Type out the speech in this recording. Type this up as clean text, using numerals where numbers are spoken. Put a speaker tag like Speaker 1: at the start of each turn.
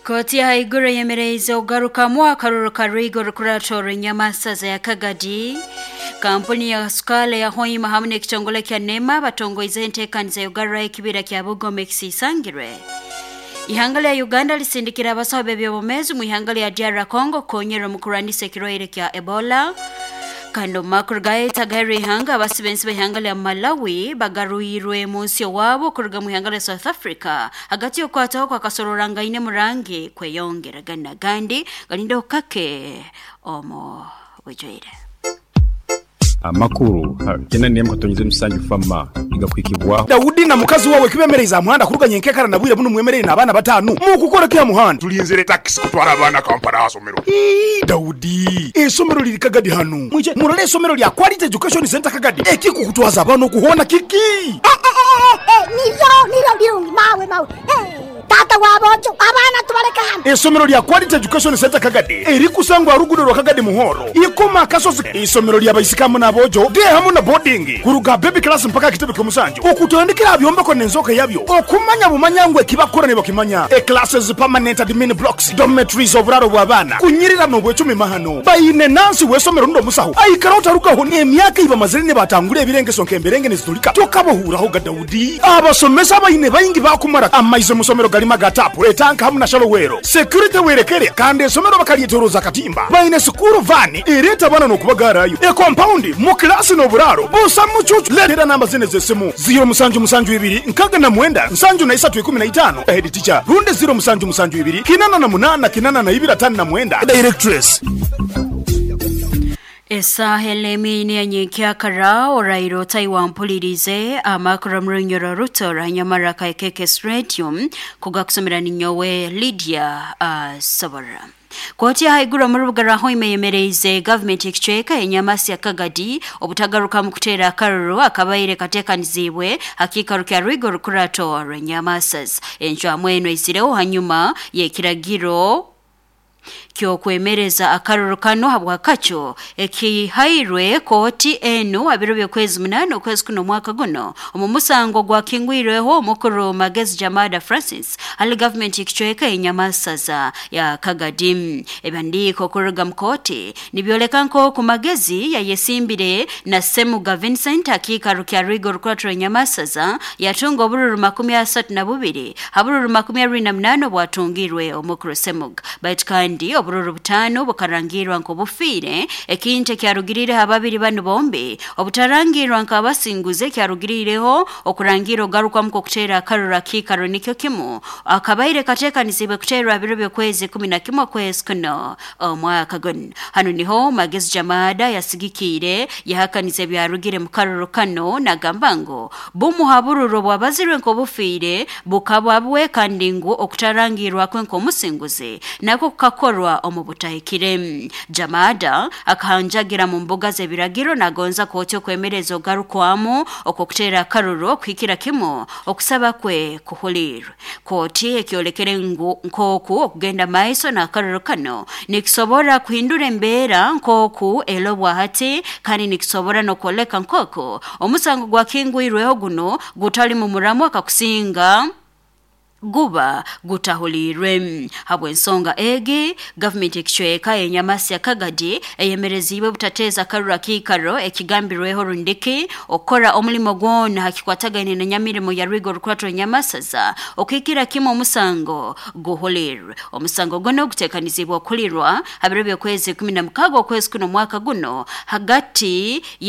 Speaker 1: Kooti y'ahaiguru eyemereize okugarukamu akaruru karwiga orukurato rw'enyamasaza ya Kagadi. Kampuni ya Sukala ya Hoima hamwe n'ekitongole kya NEMA batongoizeho enteekaniza y'okugaruraho ekibira kya Bugoma ekisiisangirwe. Ihanga lya Uganda lisindikire abasaho b'eby'obwomeezi omu ihanga lya DR Congo kukonyera omu kurwanisa ekirwaire kya Ebola. Kandi omu makuru gaitu agaheru ihanga, abasiba ensi b'ihanga lya Malawi bagarwirwe mu nsi owaabo kuruga mu ihanga lya South Africa hagati y'okukwataho kw'akasororangaine murangi kweyongera. Ganu n'agandi galindeho kake omu bwijwire.
Speaker 2: Amakuru kyenda n'emwe katonyeza emisanju fama nigakuhikibwaho.
Speaker 3: Daudi na mukazi wawe kibemereize aha muhanda kuruga nyenkekara na bwire bunu mwemereire n'abaana batanu. Mukukora ki aha muhanda?
Speaker 4: Tulinzire takisi kutwara abaana Kampala aha somero.
Speaker 3: Ii, Daudi, eisomero liri Kagadi hanu. Mwije murole eisomero lya Quality Education Centre Kagadi. Ekikukutwaza abaana oku hoona kiki?
Speaker 5: Niryo niryo birungi mawe mawe. Taata wa boojo, abaana tubaleke hanu.
Speaker 3: Eisomero lya Quality Education Centre Kagadi erikusangwa aha ruguudo rwa Kagadi Muhoro, Ikoma Akasozi. Eisomero lya baisiki hamu n'aboojo, day hamu na boarding, kuruga aha baby class mpaka aha kitebe ky'omusanju, okutandikira aha byombeko n'enzooka yabyo, okumanya bumanya ngu ekibakukora nibakimanya, e-classes, permanent admin blocks, dormitories, oburaaro bw'abaana, kunyirira n'obwecumi mahano. Baine nansi w'eisomero rundi omusaho aikara otarugaho n'emyaka ei bamazire nibatangura ebirengeso nk'emberenge nizitulika tokabahuuraho ga Daudi. Abasomesa abaine baingi baakumara amaizi omu somero garimu aga taapu, etanka hamu na shalowero. Security werekere kandi esomero bakaryetoroza akatimba. Baine sikuuru vaani ereeta abaana n'okubagaarayo, ekompaundi mu kilaasi n'oburaaro busa mucuucu. Leetera namba zinu ez'esimu, ziiro musanju musanju ibiri nkaga na mwenda nsanju na isatu ikumi na itaano, Head teacher, rundi ziiro musanju musanju ibiri kinana na munana kinana na ibiri atano na mwenda, Directress.
Speaker 1: Esaaha ena ina ya nyenkyakara oraire otai wampuliriize amakuru omu runyoro ruto orwa Nyamara aka KKS Radio kugakusomera ninyowe Lydia Asobora. Kooti y'ahaiguru omu rubuga rwa Hoima eyemereize gavumenti y'ekicweka y'Enyamasi ya Kagadi obutagarukamu kuteera akaruru akabaire kateekaniziibwe ha kiikaro kya Rwiga Orukurato rw'Enyamasas. Encwamu enu eizireho hanyuma y'ekiragiro ky'okwemereza akaruru kanu habw'akacu ekihairwe kooti enu ha biro by'okwezi munaana okwezi kuno omwaka guno omu musango ogwakingwirweho omukuru Magezi Jamada Francis hali gavumenti y'ekicweka y'Enyamasaza ya Kagadi. Ebihandiiko kuruga mu kooti nibyoleka nk'oku Magezi yayesimbire na Ssemuga Vincent ha kiikaro kya Rwiga Orukurato rw'Enyamasaza yatunga obururu 32 ha bururu 28 obwatungirwe omukuru Ssemuga. Baitu kandi obururu butaano bukarangirwa nk'obufiire, ekintu ekyarugiriireho ababiri banu bombi obutarangirwa nk'abasinguzi ekyarugiriireho okurangira ogarukwamu kw'okuteera akaruru akiikaro nikyo kimu akabaire kateekaniziibwe kuteerwa ha biro by'okwezi 11 okwezi kuno omwaka gunu. Hanu niho Magezi Jamada yasigikiire yahakaniza ebyarugire mu karuru kanu nagamba ngu bumu ha bururu obwabazirwe nk'obufiire bukaba bwe kandi ngu okutarangirwa kwe nk'omusinguzi nakwo kukakorwa omu butahikire. Jamada akahanjagira mu mbuga z'ebiragiro nagonza kooti okwemereza ogarukwamu okw'okuteera akaruru okuhikira kimu okusaba kwe kuhuliirwe. Kooti ekyolekere ngu nk'oku okugenda maiso n'akaruru kanu nikisobora kuhindura embeera nk'oku erobwa hati kandi nikisobora n'okwoleka nk'oku omusango gwakingwirweho gunu gutali mu muramu akakusinga guba gutahuliirwe. Habw'ensonga egi, gavumenti y'ekicweka ey'Enyamasya Kagadi eyemereziibwe butateeza akaruru akiikaro ekigambirweho rundiki okukora omulimo gwona ha kikwatagaine na nyamirimo ya Rwiga Orukurato Rw'Enyamasaza okuhikira kimu omusango guhuliirwe. Omusango gunu guteekaniziibwe okuhulirwa ha biro by'okwezi 16 okwezi kuno omwaka guno hagati ye.